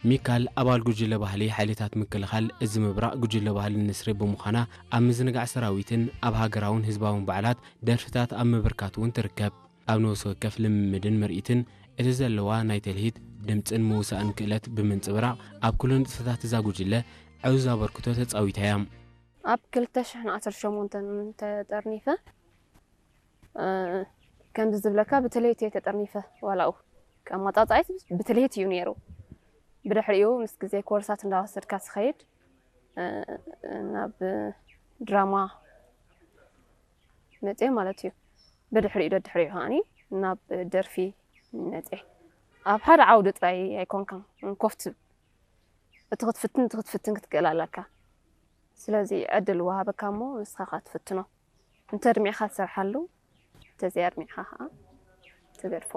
ሚካል ኣባል ጉጅለ ባህሊ ሓይልታት ምክልኻል እዚ ምብራቕ ጉጅለ ባህሊ ንስሪ ብምዃና ኣብ ምዝንጋዕ ሰራዊትን ኣብ ሃገራውን ህዝባውን በዓላት ደርፍታት ኣብ ምብርካት እውን ትርከብ። ኣብ ነፍሲ ወከፍ ልምምድን ምርኢትን እቲ ዘለዋ ናይ ተልሂት፣ ድምጽን ምውሳእን ክእለት ብምንጽብራቕ ኣብ ኩሉ ንጥፈታት እዛ ጉጅለ ዕዙዝ ኣበርክቶ ተጻዊታ እያ። ኣብ ክልተ ሽሕን ዓሰርተ ሸሞንተን ተጠርኒፈ ከምዚ ዝብለካ ብትልሂት እየ ተጠርኒፈ። ዋላኡ ኣመጻጽኣይ ብትልሂት እዩ ነይሩ። ብድሕሪኡ ምስ ግዜ ኮርሳት እንዳወሰድካ ትኸይድ ናብ ድራማ መፅየ ማለት እዩ። ብድሕሪኡ ደድሕሪኡ ከዓኒ ናብ ደርፊ መፅየ። ኣብ ሓደ ዓውዲ ጥራይ ኣይኮንካን ኮፍ ትብል፣ እቲ ክትፍትን እቲ ክትፍትን ክትክእል ኣለካ። ስለዚ ዕድል ወሃበካ እሞ ንስኻ ኻ ትፍትኖ። እንተ ኣድሚዕኻ ትሰርሓሉ፣ እንተዘይ ኣድሚዕኻ ኸዓ ትገድፎ።